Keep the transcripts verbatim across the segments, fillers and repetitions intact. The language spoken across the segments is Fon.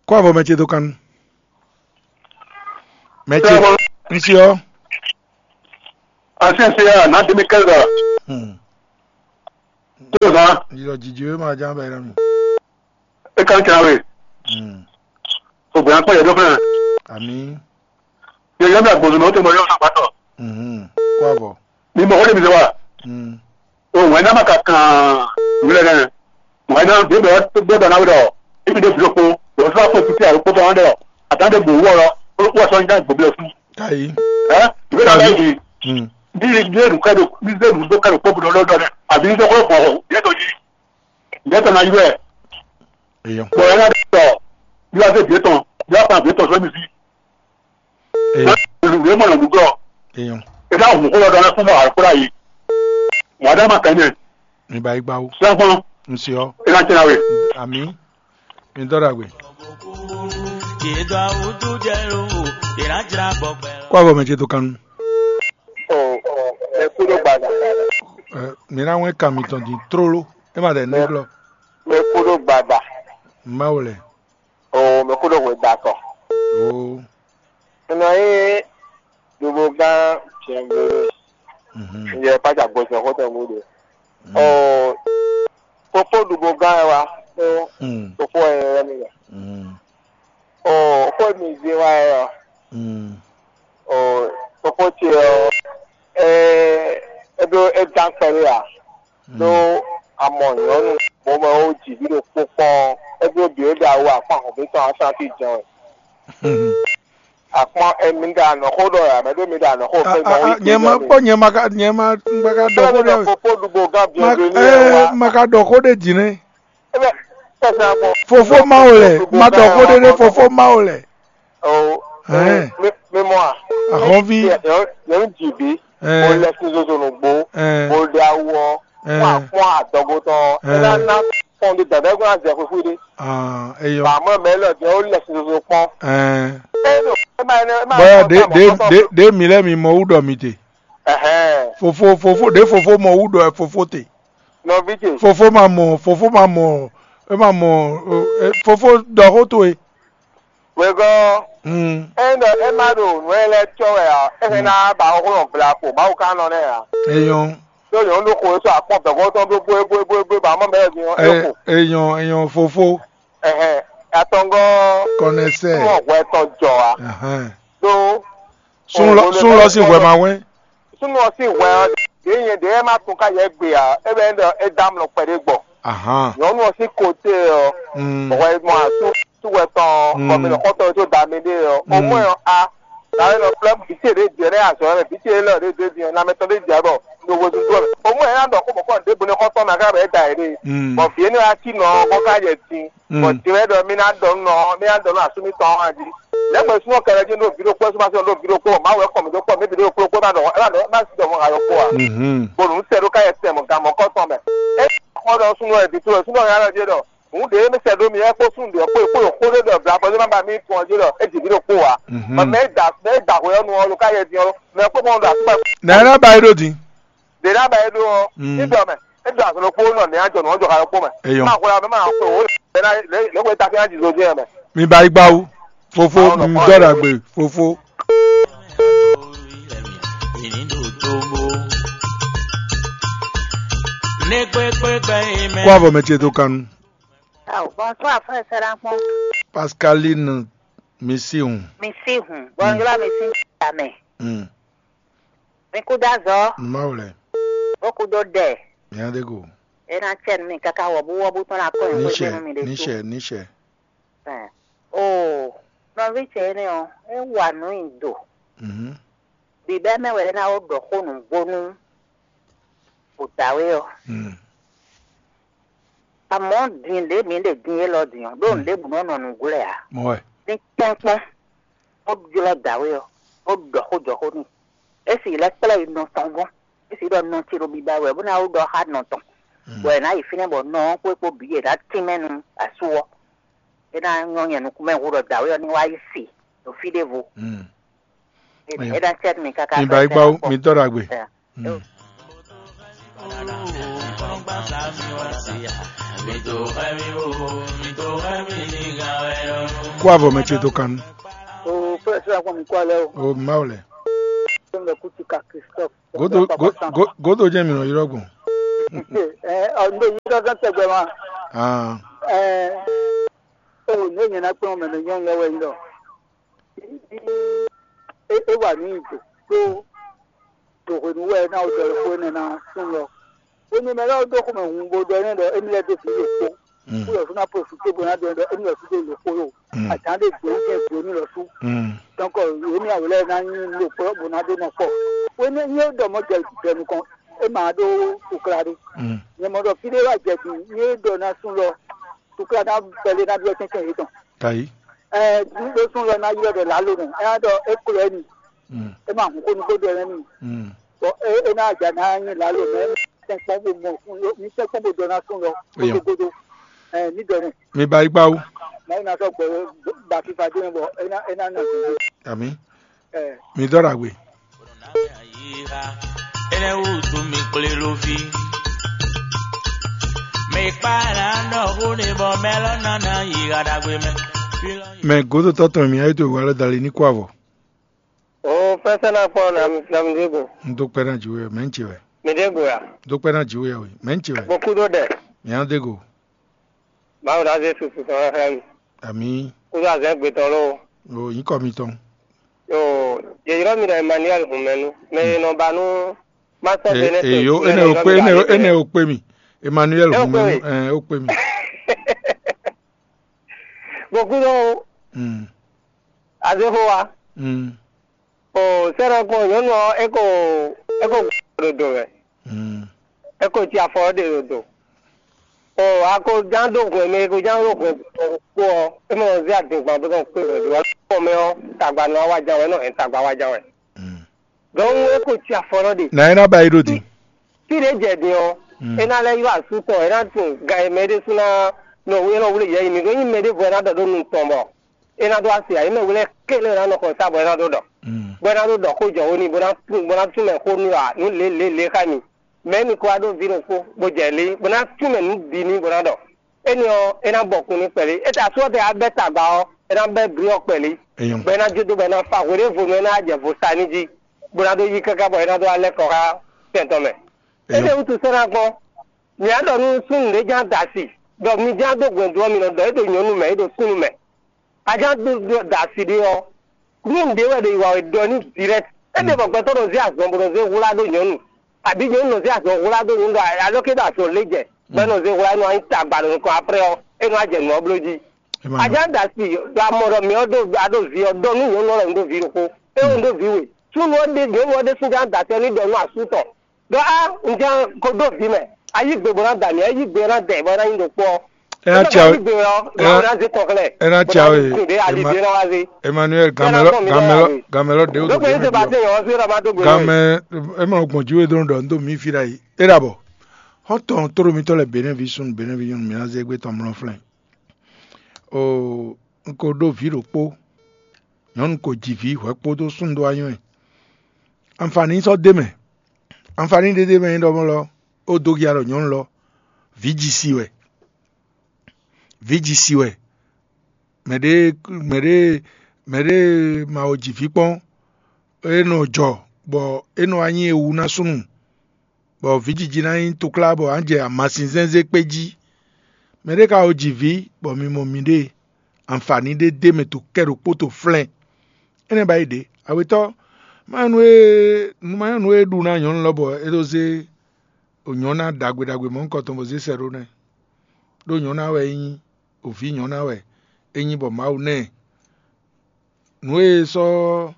Kó avɔ mɛ ce dó kan. Mɛ ce, Sɛbɔ. Ŋsi ɔ. Asin se ya na demi kɛza. Hmm. Tó na. Yɔ jiji wé ma ján bɛ yɛrɛ mi. E kan kira we. Hmm. O gbɛ akpɔ yɛ dɔ fɛn. Ami. Yɛ yɛ mi agbɔnzɔn na o tɛ mɔ yɔ na gbatɔ. Mhm. Kó avɔ. Ni mɔ o de mi se wa. Hmm. O wɛn na ma ka kan wulɛ nɛ. Wɛn na de bɛ de bɛ na we dɔ. Ibi de blo ko. Wɔ sɔ ko titi a ko tɔ dɔ. Atan de bo wɔ lɔ. Wɔ sɔ nya gbɔblɛ fún. Kayi. Ɛ? Ìwé ìlànà yìí. Hmm. Bí ilé ìlú kẹ́dùn, bí ilé ìlú tó kẹ́dùn kó gbọdọ̀ lọ́dọ̀ rẹ̀, àbí ní sọ́kọ́ pọ̀, yẹ́tọ̀ yìí, yẹ́tọ̀ náà yú ẹ̀. Èèyàn. Bọ̀ ẹ̀ náà dẹ̀ tọ̀, bí wàá fẹ́ bìí tán, bí wàá fa bìí tán sọ́mi sí. Èèyàn. Ìwé mọ̀nà gbogbo. Èèyàn. Ẹ dá òun kó lọ́dọ̀ náà fún mọ̀ àkúrà yìí. Wọ́n á dá máa kẹ́ ní ẹ̀. Mi ba igba wo. Sẹ́fún. Ŋsi ɔ. Ẹ náà tẹ́lá wẹ̀. Ami. Mi dɔ ɖagbe. Kó avɔ mɛ ce to kanu. Ɔ, ɔ, ɛ kú ló gbada. Ɛ, mi na wɛn kan mitɔn din tlóló. E ma ɖɛ nɛglɔ. Mɛ kú ló gbada. Mawu lɛ. O, mɛ kú ló hwe da tɔ. O. Nɔ ye ɖuɖu gán jɛngbé. Mhm. Yɛ pàtà gbɔjɔ xɔtɔ mú ɖe. Mm. Ɔ, fofo ɖuɖu gán ɛ wa. Tó Mm. Fofo ɛ yɛ mi yɛ. Mm. Ɔ, xɔ mi zé wa ɛ ɔ. Mm. Ɔ, fofo ce ɔ, ɛ, ɛ ɖo ɛ gán kpɛɖé a. Mm. Ɖó amɔ nyɔ̌nu bó mɛ ó jǐ ví ɖokpó kpɔ́n ɔ́, é bló bǐ é ɖo awu akpán hɔ̌nví tɔn asán fí jɛ́n wɛ. Akpɔ́n, emi ɖo anɔ̌xó ɖɔ wɛ, mɛ ɖó mi ɖo anɔ̌xó A- xwé a- mɔ a- wí Nyɛ ma kpɔ́, nyɛ ma ka, nyɛ ma ma ka ɖɔ xó ɖé. Fofó ɖugbo gán Ma bienvenu ɛ, wa. Ma ka ɖɔ xó ɖé jǐ nɛ́. Ebe sɛsɛ bɔ. Fofó Mawu lɛ, ma ɖɔ xó ɖé ɖé, fofó Mawu lɛ. O Hɛn. Mi mi mɔ a? Ahɔnvi. Yɛn yɛn ji bi. Ɛɛ. Mo lɛ sin zozo nugbo. Ɛɛ. Mo ɖe awu ɔ. Ɛɛ. Mo akpɔn adɔgo tɔn. Ɛɛ. Ena na kpɔn di dada ko na zɛ fufu de. Ah, eyɔ. Ba mɔ mɛ lɔ jɛ o lɛ sin zozo kpɔn. Ɛɛ. E do e ma ne e ma Bɔyɔ de de de de mi lɛ mi mɔ wu ɖɔ mi te. Ɛhɛn. Fofo fofo de fofo mɔ wu ɖɔ fofo te. Nɔvi ce. Fofo ma mɔ, fofo ma mɔ, e ma mɔ, e, fofo ɖɔ xó towe. Wegɔ́, Mm. Ényí ɖɔ é má ɖo nǔ e lɛ́ɛ cɔ́ wɛ ǎ, é hɛn ná ba xó nɔ gbla kpo Mawu ka nɔ nɛ́ ǎ. Eyɔn. Ɖó nyɔ̌nu ɖokxo e sɔ́ akpɔ́n dɔ̌nkɔ́ tɔn ɖó bóebóebóebó ba mɔ mɛ din ɔ́, é xo. Eyɔn eyɔn fofo. Ɛhɛn, atɔngɔ́ Kɔnɛsɛ. Mɔ hwɛ tɔn jɔ ǎ. Ɛhɛn. Ɖó Sun lɔ sun lɔ sín hwɛ ma wɛn. Súnnu ɔ́ sín hwɛ ɔ́, ɖě nyɛ ɖě ma tunwun ká yɛ gbe ǎ, é bɛ́ ɖɔ é dó amlɔ kpɛɖé gbɔ. Ahan. Nyɔ̌nu ɔ́ sín kote ɔ́, Mm. Hwɛ mɔ asú súwɛ tɔn Mm. Kɔmínɔxɔtɔn tó da mi ɖé ɔ́, Mm. omú ɛ ɔ́ a, dawe nɔ flɛ́ vǐ ce ɖé jɛ nɛ́ azɔ̌ mɛ, vǐ ce élɔ́ ɖé ɖé din ɔ́, lanmɛ tɔn ɖé jɛ bɔ ɖo hwezun dó mɛ. Omú ɛ ná ɖɔ xó bɔ kɔn ɖěbǔ ní xɔ́ntɔn mɛ ká bɛ é da yě ɖe. Mm. Bɔ vǐ énɛ́ ɔ́ cí nɔ ɔ́, bɔ ká yɛ din. Mm. Bɔ din wɛ ɖɔ mí ná ɖɔ nú nɔ, mí ná ɖɔ nú asú mítɔn ɔ́ jí. Lɛ̌gbɛ́ súnmọ́ kɛlɛ jí ɖo vǐ ɖokpó súnmọ́ sɔ́ ɖo vǐ ɖokpó, Mawu wɛ kɔ mǐ dó kpɔ, mí bǐ ɖo kplɔ́kpó ma ɖɔ, é ma ɖɔ, é ma sí ɖɔ mɔ ayɔ kpó ǎ. Mhm. Bónú sɛ ɖó ká yɛ tɛn mɔ gan mɔ̌kɔtɔn mɛ. É xɔ ɖɔ súnnu wɛ vǐ towe, súnnu ɔ́ nya lɔ jí ɖɔ, hǔn ɖě mɛ sɛ ɖó mi, é kpó súnnu ɖě kpó ɖo xó ɖé ɖɔ vla bɔ é má ba mí tun ɔ́ jí ɖɔ é ji vǐ ɖokpó ǎ. Mhm. Mɛ mɛ é da mɛ é da hwɛ ɔ́ nu ɔ́ ɖo ká yɛ din ɔ́, mɛ kpó mɔ ɖo asúkpá Nǎ ná ba é ɖó din. Ɖě ná ba é ɖó ɔ́, Mm. ní ɖɔ mɛ, é ɖo azɔ̌ ɖokpó nɔ ní ajɔ nǔ ɔ́ jɔ xa ɖokpó mɛ. Eyɔn. Má xwlá mɛ má xwe wò lě lě lě wɛ ta fín aji zozí ɛ mɛ. Mi ba igba wu. Fofo, Awo nɔ mi kpɔ́n dɔ ɛ. Dagbe. Fofo. Kó avɔ mɛ ce to kanu. Aw, bonsoir frère Seraphon. Pascaline Misihun. Misihun. Bonjour Misihun. Amen. Mm. Mi kú dó azɔ̌, Mawu lɛ. Bó kú dó ɖɛ. Nya de go. É ná cɛ nú mi káká wɔ̌búwɔ́bú tɔn ná kɔn nyi xwé Niṣɛ, nú mi ɖésú. Niṣɛ, Niṣɛ. Ɛn. Oo, nɔví ce énɛ́ ɔ́, é wa nǔ nyi do. Mhm. Bǐbɛ́ mɛ wɛ é ná ó ɖɔ xó nǔgbó nú vodǎwe ɔ́. Mm. Amɔ̌ din ɖě mǐ ɖe din élɔ́ din ɔ́, ɖó nǔɖébǔ nɔ nɔ nǔgblɛ́ ǎ. Mɔ wɛ. Ní tɛ́nkpɔ́n, bó jlɔ́ dǎwe ɔ́, bó ɖɔ xó jɔ xó n'i. É sì lɛ́ kplá yi nɔ tɔn gɔ́n. É sì ɖɔ nɔ ce ɖo biba wɛ, bó ná wú ɖɔ xá nɔ tɔn. Mm. Bɔ è nǎ yi fínɛ́ bɔ nɔ ɔ́ kpó é kpó bǐ è nǎ tínmɛ nú asú ɔ́. É ná nyɔ́ nyɛ nukúnmɛ hú ɖɔ dǎwe ɔ́ ní wá yi se ɖo fí ɖěvo. Mm. É ná cɛ́ nú mi káká. Mi ba yi gbá mi tɔ́ ɖagbe. Mm. Mm. Kó avɔ mɛ ce dó kan nú. O fɛ́sɛ́ akpɔn mi kó alɛ o. O Mawu lɛ. Tó ń bɛ kú ti ka Christophe. Godo go- go- godo jẹ́ mi nɔ yrɔ gbɔn. Ɛ ɔ ndo yi dɔdɔ tɛgbɛ ma. Ah, Ɛ o ne nyɛ na kpɛn mɛ ne nyɔnu lɛ wɛ yi lɔ. E e wa ni do do do hwenu wɛ na o dɔ ko ne na sun lɔ. Wénu mɛ lɛ́ɛ ɖó xomɛ hun bó ɖɔ n'i ɖɔ émí lɛ́ɛ dó vǐ ɖokpó, mm, bó yɔ fún ná profité bó ná ɖɔ ɖɔ émí lɛ́ɛ fún dó ɖokpó lo. Mm. Azǎn ɖé gbǒ jɛ gbǒ ní lɔ sú. Mm. Donc émí awu lɛ́ɛ ná nyí ɖokpó bó ná ɖó nɔ kpɔ. Wénu nyí é ɖɔ mɔ jɛ jɛ nukɔn, é ma ɖó kukla ɖé. Mm. Nyɛ mɔ ɖɔ fí ɖé wá jɛ din, nyí é ɖɔ ná sú lɔ, kukla ná bɛlé ná ɖó tɛ́ntɛ́n yětɔn. Tayi. Ɛ ɖó sú lɔ ná ylɔ́ ɖɔ lǎlo nɛ, é ná ɖɔ é klɔ ɛ mi. Mm. É ma hun xó nukó ɖɔ nɛ́ n'i. Mm. Bɔ é é ná ja ná nyí lǎlo mɛ, mi sɛn kpɔ́n bó mɔ fún ló, mi sɛn kpɔ́n bó dɔ ná sún lɔ. Eyɔn. Gbogbogbò. Ɛ ní dɔ nɛ. Mi ba yi gba wú. Mɛ ná sɔ gbɔ ba fífa dé bɔ é ná é ná nɔ gbogbo. Ami. Ɛ. Mi dɔ ɖagbe. Enɛ wutu mi kplé ló fi. Mi kpa na nɔ hu ni bɔ mɛ lɔ nana yi ha ɖagbe mɛ. Mɛ gǒdotɔ́ tɔn mi ayé to wa lɔ dali ní kó avɔ. O fɛsɛ na kpɔ na na mi ɖe go. N dó kpɛ́ ná jǐ wɛ, mɛ̌ ń ce wɛ? Mi ɖe go ya. Dó kpɛ́ ná jǐ wɛ we, mɛ̌ ń ce wɛ? Bo kú ɖó ɖɛ. Mǐ á dé go. Mawu ɖo azé susu tɔn xlɛ́ mi. Amǐ. Kúdó azɛ̌ gbe tɔn lóo. O nyǐkɔ mitɔn. Yo, yě ylɔ́ mi ɖɔ Emmanuel Hunmɛnu, mɛ e nɔ ba nú Master Benetton. Eyo, énɛ́ o kpé, énɛ́ o kpé mi. Emmanuel Hunmɛnu, ɛ o kpé mi. Bo kúdó azé xó wa. O sɛ́nɔ kpɔn nyɔ̌nu ɔ́, é ko é ko ɖo do wɛ. É ko cí afɔ ɔ́ ɖe ɖo do. O a ko ján ɖó hwɛ̌n mɛ, e ko ján ɖó hwɛ̌n kpó ɔ́, é mɔ zé adǐngban bó nɔ kpé hwɛ̌n ɖó ɔ́. Kpɔ́n mɛ ɔ́, tagba nɔ wá ján wɛ, é nɔ hɛn tagba wá ján wɛ. Dɔnku é ko cí afɔ nɔ ɖe. Nǎ é ná ba yi ɖó din. Fí ɖě jɛ din ɔ́, é ná lɛ́ ylɔ́ asú tɔn, é ná tunwun gan e mɛ ɖésú ná nɔ wlé nɔ wlé yɛ yi mǐ ɖó nyí mɛ ɖěvo é ná ɖɔ ɖó nu tɔn bɔ é ná ɖó asi ǎ. É mɛ wlɛ́ kélé ná nɔ xɔ sá bɔ é ná ɖó ɖɔ, bɔ é ná ɖó ɖɔ xó jɔ wó n'i, bó ná bó ná tún mɛ xó nú ǎ, nú lě lě lě xá mi. Mɛ̌ mi ko wá ɖó vǐ ɖokpó, bó jɛ lě, bó ná tún mɛ nǔ bǐ n'i, bó ná ɖɔ énɛ́ ɔ́, é ná bɔ kun n'i kpɛɖé. É ta asú ɔ́ tɛ wá bɛ́ tagba ɔ́, é ná bɛ́ blǐ ɔ́ kpɛɖé, bɔ é ná jó dó bɔ é ná fa hweɖěvonu, é ná jɛ vo sa n'i jí, bó ná ɖó yí káká bɔ é ná ɖó wá lɛ́ kɔ xá tɛn tɔn mɛ. Énɛ́ wútu sɛ́ ná gbɔn. Mǐ á ɖɔ nú súnnu ɖě ján da asi ɖɔ mi ján dó hwɛ̌ndú ɔ́, mi nɔ ɖɔ é ɖo nyɔ̌nu mɛ, é ɖo súnnu mɛ. A ján dó da asi ɖé ɔ́, nú nǔɖé wɛ ɖo yi wa wɛ ɖɔ n'i direct. É ɖe bɔ gbɛtɔ́ nɔ zé azɔn bó nɔ zé hwlá ɖó nyɔ̌nu, abǐ nyɔ̌nu nɔ zé azɔn hwlá ɖó nyɔ̌nu ɖɔ alɔkɛ ɖo azɔn lě jɛ, bɔ é nɔ zé hwlá, é nɔ wá nyí tagba ɖo nukɔn, après ɔ́, é nɔ wá jɛ nǔ ɔ́ bló jí. A ján da asi ɖo amɔ ɖɔ mǐ ɔ́ ɖo a ɖo vǐ ɔ́ ɖɔ nú nyɔ̌nu ɔ́ ɖɔ un ɖó vǐ ɖokpó. É un ɖó vǐ we. Súnnu ɔ́ ɖe nyɔ̌nu ɔ́ ɖésú ján da asi ɔ́ ní ɖɔ nú asú tɔn ɖɔ á, un ján ko dó vǐ mɛ. A yí gbe bó ná da mì, a yí gbe ná dɛ bó ná nyí ɖokpó ɔ́. É ná cia we. É ná cia we. Emmanuel, gamɛlɔ gamɛlɔ gamɛlɔ ɖe o. Dókè ní Sébastien yɔn ɔ́ sí ɔ̀dà má dó gbe. Gamɛ, ema gbɔn jí we dó ɖɔ ndo mi fi ɖa yi. É ɖa bɔ. Xɔntɔn tóɖo mitɔ lɛ Benin vi sun, Benin vi nyɔnu mi ná zé gbé tɔn mlɔ flɛn. O, un ko ɖó vǐ ɖokpó. Nyɔnu ko ji vǐ hwɛ kpódó sun dó anyɔ ɛ. Anfani sɔ́ dé mɛ. Anfani ɖé dé mɛ nyí ɖɔ mɔ lɔ, ó dó ya ɖɔ nyɔ̌nu lɔ, vǐ ji si wɛ. Vǐ ji si wɛ. Mɛɖé mɛɖé mɛɖé ma wo ji vǐ kpɔ́n, é nɔ jɔ bɔ é nɔ wá nyí ewu ná súnnu, bɔ vǐjiji ná nyí toklá bɔ á jɛ amasin zɛ́nzɛ́n kpé jí. Mɛɖé ka wo ji vǐ bɔ mi mɔ miɖée, anfani ɖé d'é mɛ to kɛ ɖokpó to flɛ́n. Énɛ́ ba yi ɖě, awetɔ́, ma nyɔ́ nú e nu ma nyɔ́ nú e ɖu ná nyɔ̌nu lɔ bɔ é ɖó zé nyɔ̌ná ɖagbe ɖagbe mɔ̌hunkɔ tɔn bɔ zé sɛ ɖó nɛ́. Ɖó nyɔ̌ná wɛ é nyí, òví nyɔ̌ná wɛ é nyí bɔ Mawu ná ɛ. Nǔ e sɔ́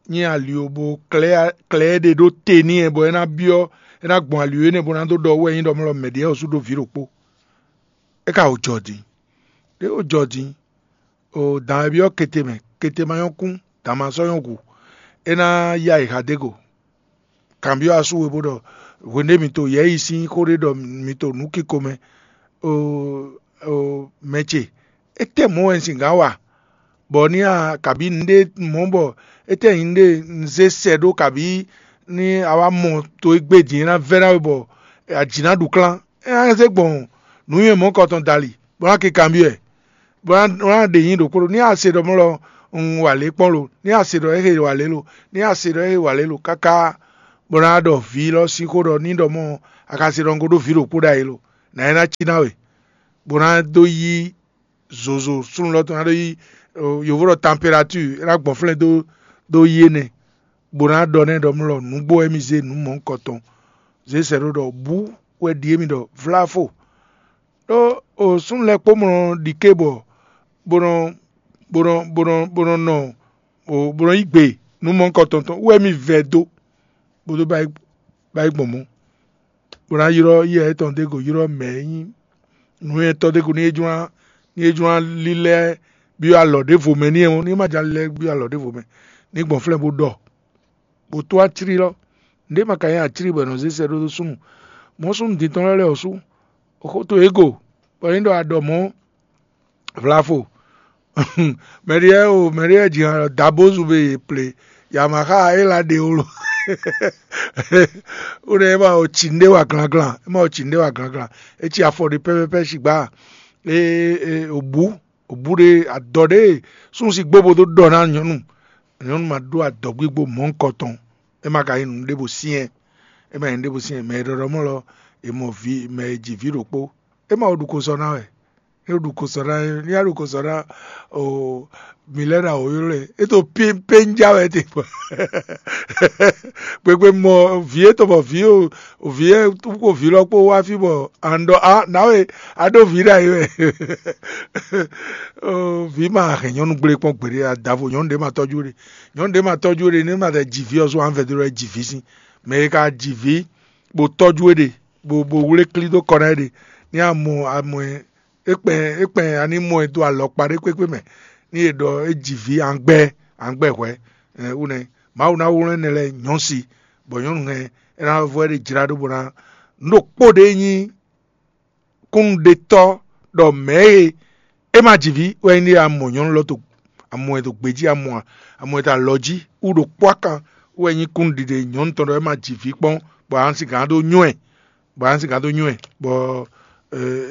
nyí ali ó bó klɛ́ klɛ́ ɛ ɖe ɖó te n'i ɛ bɔ é ná byɔ́, é ná gbɔn ali ó énɛ́ bó ná dó ɖɔ wú wɛ nyí ɖɔ mɔ lɔ mɛɖě ɔ́ sú ɖó vǐ ɖokpó. É ka wǒ jɔ din. Ɖé wǒ jɔ din. O dan e byɔ́ kete mɛ, kete ma nyɔ́ kún, dan ma sɔ́ nyɔ́ gu. É ná yá yi hadego. Kanbyɔ́ asú we bó ɖɔ hwenu ɖé mi to yɛ̌yi sín xó ɖé ɖɔ mi to nǔ kiko mɛ, o o mɛ ce, étɛ́ mɔ̌ wɛ un sin gǎn wa? Bɔ ní a kabǐ nǔɖé mɔ̌ bɔ étɛ́ nyí nǔɖé un zé sɛ ɖó kabǐ ní a wá mɔ to e gbé din é ná vɛ́ ná we bɔ ajǐ ná ɖu klán, é ná zé gbɔn nǔnywɛ́ mɔ̌kɔtɔn dali bó ná ke kanbyɔ́ ɛ. Bó ná ɖe nyí ɖokpó ɖo ní a se ɖɔ mɔ̌ lɔ, un wa lě kpɔ́n lo, ní a se ɖɔ éhe wa lě lo, ní a se ɖɔ éhe wa lě lo káká bó ná ɖɔ vǐ lɔ sín xó ɖɔ ní ɖɔ mɔ̌ a ka se ɖɔ un ko ɖó vǐ ɖokpó ɖ'ayǐ lo, nǎ é ná cí ná we, bó ná dó yí zozo súnnu lɔ tɔn ná ɖó yí yǒvó ɖɔ tanpelatúr é ná gbɔn flɛ́n dó dó yí énɛ́, bó ná ɖɔ nɛ́ ɖɔ mɔ̌ lɔ nǔgbó wɛ émí zé nǔ mɔ̌hunkɔtɔn. Zě sɛ ɖó ɖɔ bǔ wɛ ɖi émí ɖɔ vláfo. Ɖó o súnnu lɛ́ɛ kpó mɔ ɖi ké bɔ bó nɔ bó nɔ bó nɔ bó nɔ nɔ bó nɔ yí gbe nǔ mɔ̌hunkɔtɔn tɔn wɛ émí vɛ dó bó dó ba yi gbɔn mɔ̌. Bó ná ylɔ́ yɛ étɔn dó go ylɔ́ mɛ e nyí nǔnywɛ́tɔ́ dó go ní é jló ná ní é jló ná lílɛ́ byɔ́ alɔ ɖěvo mɛ ní é ní é ma jló ná lílɛ́ byɔ́ alɔ ɖěvo mɛ ní gbɔn flɛ́ bó ɖɔ bó tó aclí lɔ. Nǔɖé ma ka nyí aclí bɔ è nɔ zé sɛ́ ɖó súnnu. Mɔ̌ súnnu din tɔn lɛ́ɛ lɛ́ɛ ɔ́ sú xó towe go bɔ é nyí ɖɔ a ɖɔ mɔ̌ vlavo. Mɛɖiɛ o mɛɖiɛ ji hàn dabózu be yě ple yamaxa é la ɖe wolo. Ó nɛ é ma o tsi nɖé wa glanglan é ma o tsi nɖé wa glanglan é tsi afɔ ɖé pɛpɛpɛ sigba é o bú o bú ɖé adɔ ɖé súnnu si gbó bo dó ɖɔ ná nyɔ̌nu. Nyɔ̌nu ma ɖó adɔgbígbó mɔ̌hunkɔtɔn é ma ka nyí nǔ ɖěvo syɛ́n é ma nyí nǔ ɖěvo syɛ́n mɛ e ɖɔɖɔ mɔ lɔ è mɔ vǐ mɛ e ji vǐ ɖokpó é ma o ɖu ko sɔ ná wɛ. É ɖu ko sɔ ná ní a ɖu ko sɔ ná o mǐ lɛ́ ná wǒ ylɔ́ ɛ é to pínpénjá wɛ te kpɔ. Gbegbe mɔ vǐ é tɔn bɔ vǐ o vǐ é kó vǐ lɔ kpó wá fí bɔ an ɖɔ a nǎwe a ɖó vǐ ɖ'ayǐ wɛ. Vǐ ma hɛn nyɔ̌nu gblé kpɔ́n gbeɖé adavo nyɔ̌nu ɖé ma tɔ́jú ɖe nyɔ̌nu ɖé ma tɔ́jú ɖe ní ma tɛ ji vǐ ɔ́ sú an vɛdó lɔ ji vǐ sín mɛ e ka ji vǐ bó tɔ́jú é ɖe bó bó wlé klí dó kɔ ná é ɖe ní a mɔ amɔ ɛ é kpɛn é kpɛn a ní mɔ ɛ dó alɔkpa ɖé kpékpé mɛ ní è ɖɔ é ji vǐ angbɛ angbɛ hwɛ̌. Wú nɛ́ Mawu ná wlɔ́n énɛ́ lɛ́ɛ nyɔ̌ si bɔ nyɔ̌nu hɛn é ná vɔ é ɖe jlá ɖó bó ná nú ɖokpó ɖé nyí kúnnuɖetɔ́ ɖɔ mɛ̌ e é ma ji vǐ wɛ nyí ɖé a mɔ nyɔ̌nu lɔ to a mɔ ɛ to gbějí a mɔ a a mɔ ɛ to alɔ jí wú ɖo kpó akan wɛ nyí kúnnuɖiɖe nyɔ̌nu tɔn ɖɔ é ma ji vǐ kpɔ́n bɔ a nǎ sixú dó nywɛ́ bɔ a nǎ sixú dó nywɛ́ bɔ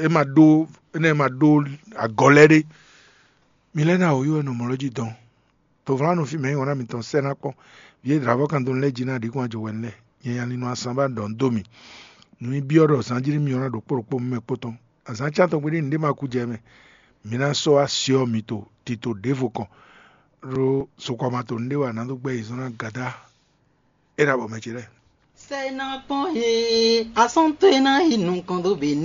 é ma ɖó énɛ́ ma ɖó agɔ lɛ́ɛ ɖé. Mi lɛ́ ná wǒ yí wɛ nɔ mɔ̌ lɔ jí dɔn. Tovlánɔ fí mɛ nyí wɔ̌ná mitɔn sɛ́ ná kpɔ́n. Vǐ e dlǎvɔ́ kan dó nú lɛ́ɛ jí ná ɖǐ kún ajɔ wɛ nú lɛ́ɛ. Nyɛ nya lin nɔ asan ba ɖɔ nú dó mì. Nǔ nyi byɔ́ ɖɔ zǎnjílí myɔ ná ɖo kpó ɖokpó mɛ kpó tɔn. Azǎn cán tɔn gbe ɖé nǔɖé ma kú jɛ mɛ. Mi ná sɔ́ wá syɔ mitɔn tito ɖěvo kɔn. Ɖó sokɔma to nǔɖé wa ná dó gbɛ́ yi zɔ́n ná gadá. É ná bɔ mɛ ce lɛ́ɛ. Sɛ ná kpɔn he asɔ́n towe ná yi nukɔn dó be nɛ.